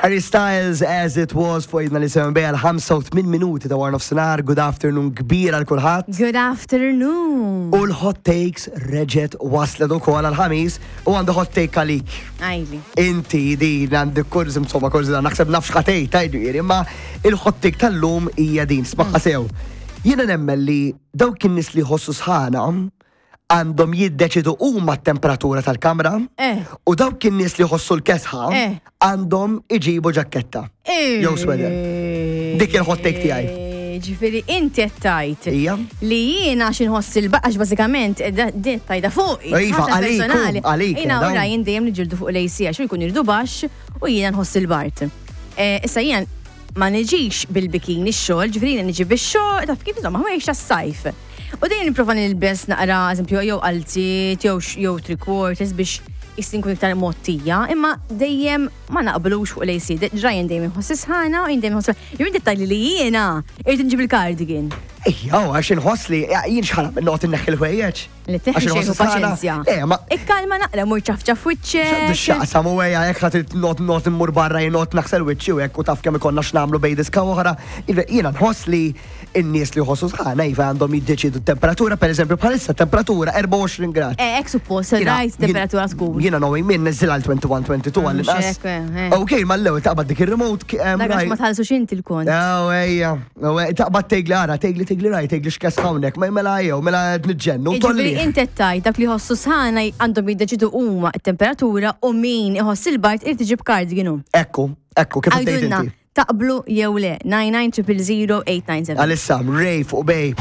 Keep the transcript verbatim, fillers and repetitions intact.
Harry Styles, "As It Was", fuq idna li seven bejja l-ħamsa u tmien minuti ta' wara nofsinhar. Good afternoon kbir għal kulħadd. Good afternoon. U l-hot takes reġgħet waslet ukoll għal-ħamis u għandu hot take għalik. Għidli. Inti din għandi kurz, insomma, kurz naħseb nafx ħatej tajdu jiri, imma il-hot take tal-lum hija din, smagħha sew. Jiena nemmen li dawk in-nies li jħossu sħana għandhom jiddeċidu huma t-temperatura tal-kamra Eh. u dawk in-nies li jħossu l-kesħa Eh. għandhom iġibu ġaketta. Jew sweater. Dik il-hot take tiegħi. Ġifieri, inti qed tgħid Ija. li jiena xi nħoss il-baqax bażikament eh, da- din tajda fuqi. Iva, ħaġa għalik, personali. u, għalik, Jiena dawn. u Ryan dejjem niġġieldu fuq l-A C għax jkun irdu baxx u jiena nħoss il-bard. Eh, Issa jiena ma niġix bil-bikini x-xogħol, ġifieri jiena niġi bix-xogħol, taf kif, insomma, ħwejjeġ tas-sajf. U dejjem nipprova nilbes naqra, eżempju, jew qalziet, jew jew three quarters biex jistin kun iktar mottija, imma dejjem ma naqblux fuq l-A C. Ryan dejjem inħoss sħana u jien dejjem inħoss. Jew inti tgħidli li jiena irrid nġib il-cardigan. Ejja, għax inħoss li jien xħana minn noqgħod inneħħi l-ħwejjeġ. Li teħi Għax xejn inħoss u sħana. paċenzja. Le, ma Ikkalma naqra, mur ċafċaf wiċċek. Xaqsam u għeja, jek ħat not not immur barra jnot naħsel wiċċi u jekk u taf kemm ikonna x'nagħmlu bejn diska oħra. Jiena nħoss li n-nies li jħossu sħana iva għandhom jiddeċidu temperatura, per eżempju bħalissa temperatura erbgħa u għoxrin grad. Eh, ek suppost, Jiena- rajt temperatura tkun. Jiena knowing min niżżil għal wieħed u twenty, twenty-two għall Mhux inqas. hekk, eh, eh. Ok, ma l-ewwel taqbad dik ir-remote ki- em, Dak għax raj- ma tħallsux inti l-kont. Oh, ejja, oh, ejja, taqbad tegli ara, tegli tegli raj, tegli x'kas hawnhekk, ma mela jew, mela nġennu, Ġifieri tolli. inti qed tgħid dak li jħossu sħana għandhom jiddeċidu huma t-temperatura u min iħoss il-bard irid iġib cardigan hu. Ekku, ekku, kif tgħid Għidulna inti. taqblu jew le nine nine zero zero eight nine seven. Għalissa, Ray fuq Bay.